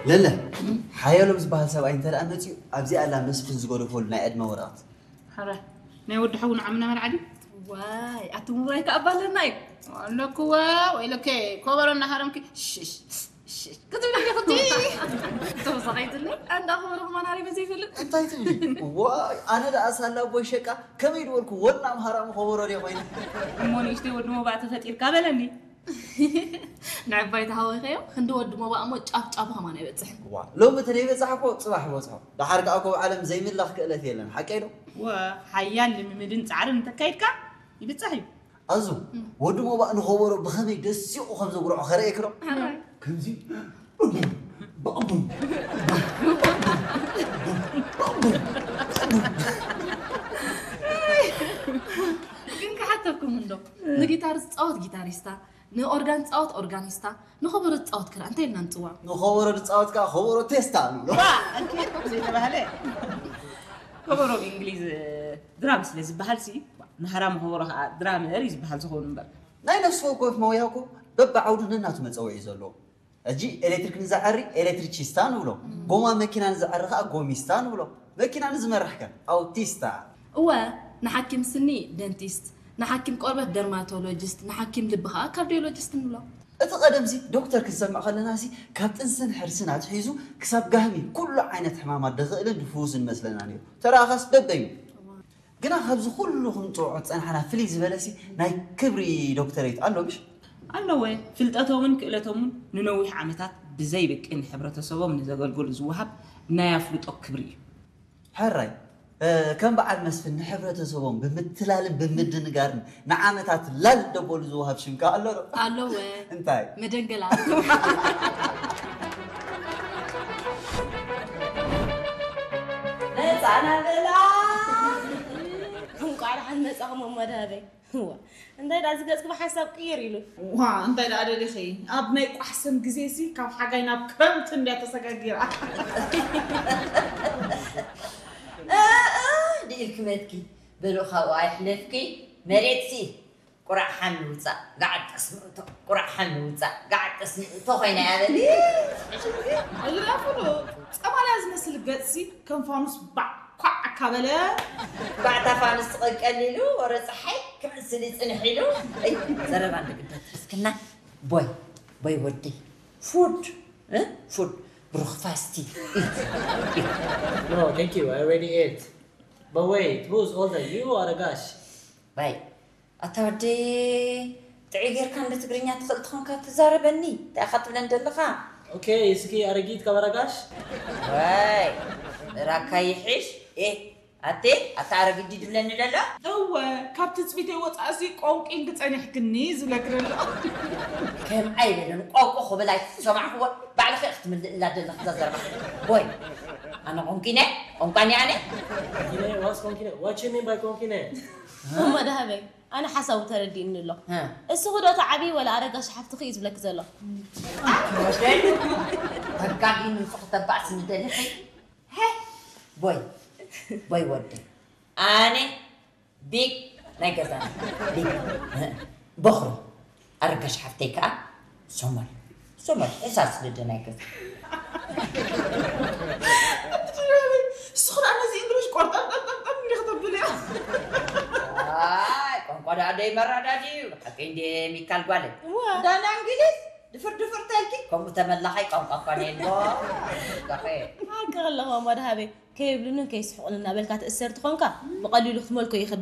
ለለ፣ ሓያሎም ዝበሃል ሰብኣይ እንተ ደኣ መጺኡ፣ ኣብዚኣ ኣላ መስፍን ዝገደፈሉ ናይ ዕድመ ወረቐት። ሓራይ፣ ናይ ወዲ ሓው ንዓምና መልዓ ድዩ? ዋይ ኣቲ ምውራይ ከኣ ባለና እዩ። ኣለክዋ፣ ወይለከ፣ ኮበሮ እናሃረምኪ ሽሽ ክትብሊ ዲኹቲ? ተወሳኺትለ። ኣንዳ ኸበሮ ማናሪ በዘይፈልጥ እንታይ ትብሊ? ዋይ፣ ኣነ ደኣ ሳላ ኣቦይ ሸቃ ከመይ ድበልኩ ወና ኣምሃራ ምኸበሮ ድየ ኮይነ። እሞ ንእሽተይ ወዲ ሞባእ ተፈጢርካ በለኒ። ንዕባይ ተሃወኸዮ ክንዲ ወዲ ሞባእ እሞ ጫፍ ጫፉ ከማን ኣይበፅሕን። ዋ፣ ሎሚ እቲ ዘይበፃሕ እኮ ፅባሕ ይበፅሖ። ደሓር ከዓ እኮ ኣብ ዓለም ዘይምላኽ ክእለት የለን፣ ሓቀይ ዶ? ወ ሓያል ልምምድን ፃዕርን እንተካይድካ ይብፃሕ እዩ። ኣዙ፣ ወዲ ሞባእ ንኸበሮ ብኸመይ ደሲቑ ከም ዘጉርዖ ከርእየኪ ዶ? ከምዚ ግን ክሓተኩም እንዶ ንጊታር ዝፃወት ጊታሪስታ ንኦርጋን ዝፃወት ኦርጋኒስታ ንኸበሮ ዝፃወት ክራ እንታይ ኢልና ንፅዋ? ንኸበሮ ዝፃወት ከዓ ኸበሮ ቴስታ ንብሎ። ዘይተባህለ ከበሮ ብእንግሊዝ ድራም ስለ ዝበሃል ሲ ንሃራም ከበሮ ከዓ ድራመር እዩ ዝበሃል ዝኸውን እምበር ናይ ነፍሲ ወከፍ መውያ እኮ በብዓውዱ ነናቱ መፀውዒ እዩ ዘለዎ። ሕጂ ኤሌክትሪክ ንዘዐሪ ኤሌክትሪቺስታ ንብሎ፣ ጎማ መኪና ንዘዐሪ ከዓ ጎሚስታ ንብሎ፣ መኪና ንዝመርሕ ከ ኣውቲስታ። እወ፣ ንሓኪም ስኒ ደንቲስት፣ ንሓኪም ቆርበት ደርማቶሎጂስት፣ ንሓኪም ልቢ ከዓ ካርዲዮሎጂስት ንብሎ። እቲ ቀደምሲ ዶክተር ክንሰምዕ ከለናሲ ካብ ጥንስን ሕርስን ኣትሒዙ ክሳብ ጋህሚ ኩሉ ዓይነት ሕማማት ድኽእልን ድፍውስን መስለና ነይሩ። ተረኣኻስ በበይኑ። ግና ካብዚ ኩሉ ክንፅውዖ ዝፀናሕና ፍልይ ዝበለሲ ናይ ክብሪ ዶክተሬት ኣሎ ምሽ? ኣለወ። ፍልጠቶምን ክእለቶምን ንነዊሕ ዓመታት ብዘይብቂ ንሕብረተሰቦም ንዘገልገሉ ዝወሃብ ናይ ኣፍልጦ ክብሪ እዩ። ሕራይ ከም በዓል መስፍን ንሕብረተሰቦም ብምትላልን ብምድንጋርን ንዓመታት ላል ደበሉ ዝወሃብ ሽም ከ ኣሎ ዶ? ኣለወ። እንታይ? መደንገላ። መጻና በላ። እንቋዕ ደሓን መጻኹም እሞ ደሃበይ። እዋ እንታይ ደኣ እዚ ገጽኪ ብሓንሳብ ቅይር ኢሉ። ዋ እንታይ ደኣ ደሊኺ ኣብ ናይ ቋሕሰም ግዜ ሲ ካብ ሓጋይ ናብ ክረምቲ እንድያ ተሰጋጊራ። ድኢልኪ መትኪ በሉ ካብኡ ኣይሕለፍኪ መሬት ሲ ቁራዕ ሓሚ ውጻእ ጋዕ ጠስሚ እቶ ቁራዕ ሓሚ ውጻእ ጋዕ ጠስሚ እቶ ኮይና እያ በሊ። ኣይራፍሉ ጸማልያ ዝመስል ገጽሲ ከም ፋኑስ ባዕ ኳዕ ኣካበለ። ባዕታ ፋኑስ ትቐቀል ኢሉ ወረ ጸሓይ ክምስል ይጽንሕ ኢሉ። እይ ዘረባ እንድግደት እስክና ቦይ ቦይ ወዲ ፉድ እ ፉድ ብሩኽፋስቲ ኢት ኢት። No, thank you. I already ate. But wait, who's older, you or Agash? ባይ ኣታ ወዲ ጥዑይ ጌርካ እንደ ትግርኛ ትኽእል ትኾንካ ትዛረበኒ እንታይ ኢኻ ትብለን ዘለኻ? Okay, እስኪ ኣረጊት ካብ ኣረጋሽ? ዋይ ራካ ይሕሽ ኤ ኣቴ ኣታ ኣረጊት ድዩ ትብለኒ ዘሎ? እወ ካብ ትጽቢተይ ወጻእሲ ቆንቂንኪ ጸኒሕክኒ ዝብለኪ ዘሎ። ከምኣ ይበለን ቆንቆ ክብል ኣይሰማዕክዎ ባዕልኺ ኢኺ ትምልእላ ዘለኺ እዛ ዘረባ። ቦይ ኣነ ቆንቂነ ቆንቋኒ ኣነ? Konkine, what's konkine? What you mean by konkine? እሞ ደሃበይ ኣነ ሓሳቡ ተረዲእኒ ኣሎ። እስኺ ዶ ተዓብዪ ወላ ኣረጋሽ ሓፍትኺ እዩ ዝብለኪ ዘሎ። ተጋጊ ንሱ ክተባእስ ንደሊኺ ቦይ ቦይ ወዲ ኣነ ቢግ ናይ ገዛና ቢግ በኹሪ ኣረጋሽ ሓፍተይ ከዓ ሶመል ሶመል ሕሳስ ልደ ናይ ገዛ ንስኹ ደኣ ነዚ እንግሊሽ ቆርጠምጠምጠምጠም እንዲኺ ተብልያ ኣይ ቋንቋ ደኣ ደይ መረዳድዩ ሓቀይ እንደ ሚካል ጓለይ ዳና እንግሊዝ ድፍር ድፍር ተልኪ ከምኡ ተመላኻይ ቋንቋ እኳ ነየሎ ጋኸ ሓቂ ኣለኹ ኣሞ ደሃበይ ከይብሉንን ከይስሕቑን እናበልካ ትእሰር ትኾንካ ብቐሊሉ ክትመልኮ ይኽብል